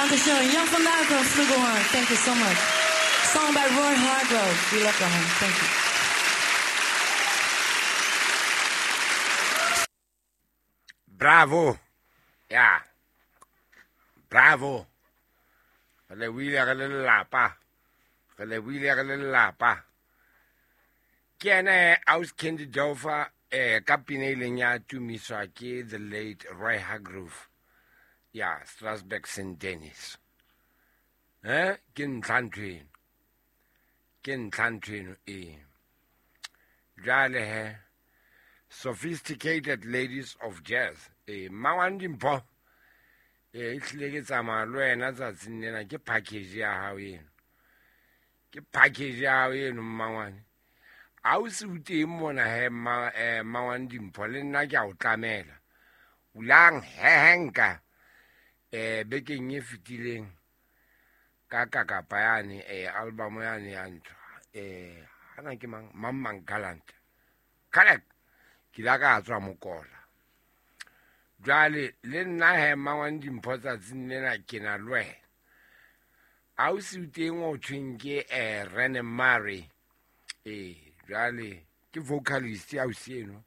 Dankeschön. Jan van Duiken on flugelhorn. Thank you so much. Song by Roy Hargrove. We love that one. Thank you. Bravo. Ya. Bravo. Re lebohile re le lelapa. Re lebohile re le lelapa. Ke ene Aus Candy Dover ka pina e ileng ya tumiswa ke the late Roy Hargrove. Ya Strasbourg St. Denis. Ke ntlha ntho eno. Ke ntlha ntho eno e. Jwale he, sophisticated ladies of jazz. Mmangwane Dimpho, e hlile ke tsamaya le wena tsatsing lena, ke package ya hao eno. Ke package ya hao eno mmangwane. Ha o se o teng mona he, mmangwane Dimpho, le nna ke a o tlamela. Ulang hehenka, bekeng e fetileng ka kakapa yane, album yane ya ntho, hana ke mang, mang mang Gallant. Correct. Ke la ka tswa mokola. Jwale le nna he mmangwane Dimpho tsatsing lena ke na le wena. Ha o se o teng o thweng ke Rene Murray. Jwale ke vocalist ya ausi eno.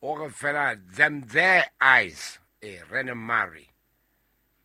O re fela them their eyes, Rene Murray.